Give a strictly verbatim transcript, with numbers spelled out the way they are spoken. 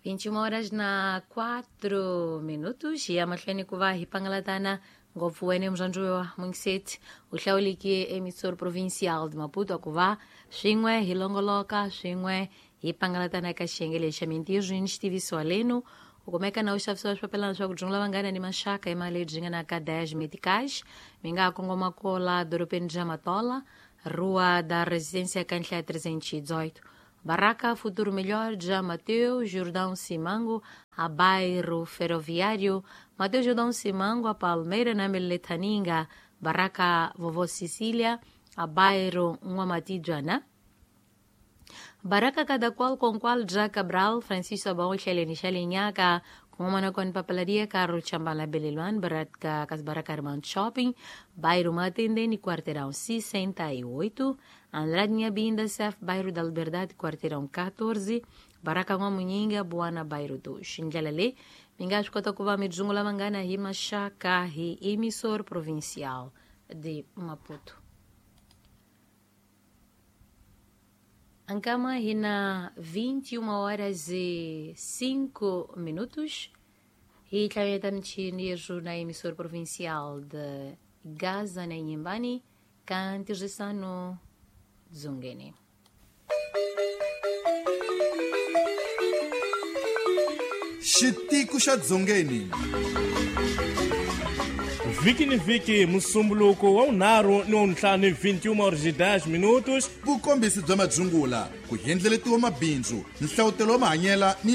vinte e uma horas na quatro minutos hi ya mahlweni ku va hi pangalatana ngopfu wene murhandziwa mungiseti u hlawuleke emissor provincial de Maputo ku va swin'we hi longoloka swin'we hi pangalatana eka xiyenge lexi xa mintirho ni xitiviso lenu u kumeka na u xavisiwa swipapelana swa ku dzungula vanghana ni maxaka hi mali lebyi nga na ka dez meticais mi nga ha kongoma kola dorobeni bya Matola, Rua da Residência Cantlé trezentos e dezoito, Barraca Futuro Melhor, já Mateus Jordão Simango, a bairro Ferroviário, Mateus Jordão Simango, a Palmeira na Meletaninga, Barraca Vovó Cecília, a bairro Nguamatijana, Barraca cada qual com qual já Cabral, Francisco Sabão, Xelene Xelinhaca, com uma com papelaria, Carro Chambala Beleluan, Barraca Casbaraca Armando Shopping, bairro Matendene, quarteirão sessenta e oito, Andrade Nhabinda, Cef, bairro da Liberdade, quarteirão quatorze, Barraca Nwamuninga, Buana, bairro dois. Ndlela minga swi kota ku va mi dzungula vanghana hi maxaka hi emissor provincial de Maputo. Ankama hi na vinte e uma horas e cinco minutos hi tlhaveta michini yerhu na emissor provincial de Gaza na Inhambane, ka ntirhisano dzongeni. Xitiko xa dzongeni. Vhiki ni vhiki musumbuluko wa vunharhu ni wa vuntlhanu vinte e uma horas e dez minutos. Vukombisi bya madzungula, ku endleletiwa mabindzu, nhlavutelo wa mahanyela ni